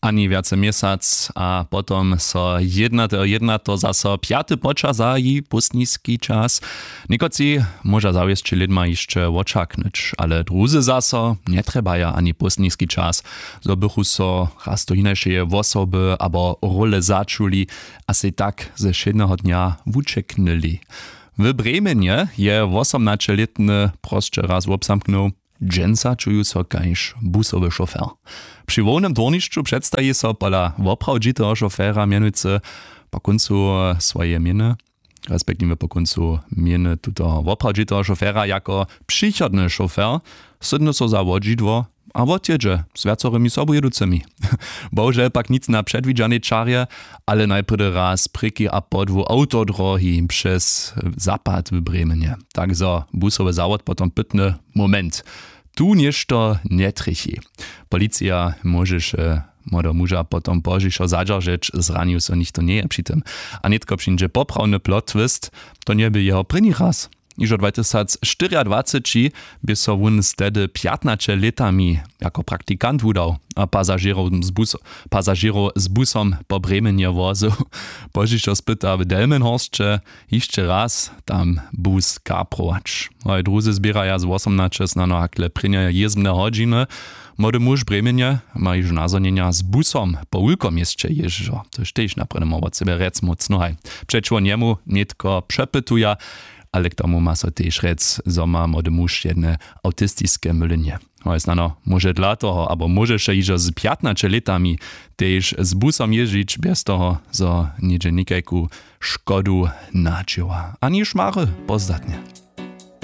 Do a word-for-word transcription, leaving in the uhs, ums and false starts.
Ani wjace měsac a potom so jednateho jednateho zaso pjaty poča zahaji póstniski čas. Někotři móža zawěsće lědma hišće wočaknyć, ale druzy zaso njetrjebaja ani póstniski čas, zo bychu so raz do hinašeje wosoby abo role začuli a sej tak ze wšědneho dnja wućeknyli. W brěmenje je wosomnaćelětny prosće raz wobzamknył. Dźensa čuju so kaž busowy šofer. Při hłownem dwórnišću předstaji so pola woprawdźiteho šofera mjenujcy po kóncu swojeje měny, respektiwje po kóncu měny tutoho woprawdźiteho šofera jako přichodny šofer, sydny so za wodźidło a wotjědźe z wjacorymi sobujěducymi. Bohužel pak nic na předwidźanej čarje, ale najprjedy raz prěki a podłu awtodrohi přez zapad w brěmenje, tak zo busowy zawod potom pytny moment. Tu něšto njetrjechi. Policija móžeše młodeho muža potom pozdźišo zadźeržeć, zranił so nichtó njeje při tym. A nětko přińdźe poprawny plot twist. To njebě jeho prěni raz. Hižo dwatysacštyriadwaceći bě so wón z tehdy pjatnaće lětami jako praktikant wudał a pasažěrow z busom po brěmenje wozył. Pozdźišo spyta w delmenhorsće hišće raz tam bus kaprować. Hoj druzy zběraja z wosomnaće snano hakle prěnjeje jězbne hodźiny. Młody muž brěmenje ma hižo nazhonjenja z busom po wulkoměsće jězdźo, tož tež naprjedy móhło wot sebje rjec mócno haj. Přećiwo njemu nětko přepytuja, ale k tomu ma so tež rjec zo ma młody muž jedne awtistiske mylenje. Hoj snano móže dla toho abo móžeše hižo z pjatnaće lětami tež z busom jězdźić bjez toho zo něhdźe někajku škodu nadźěła ani šmary pozdatnje.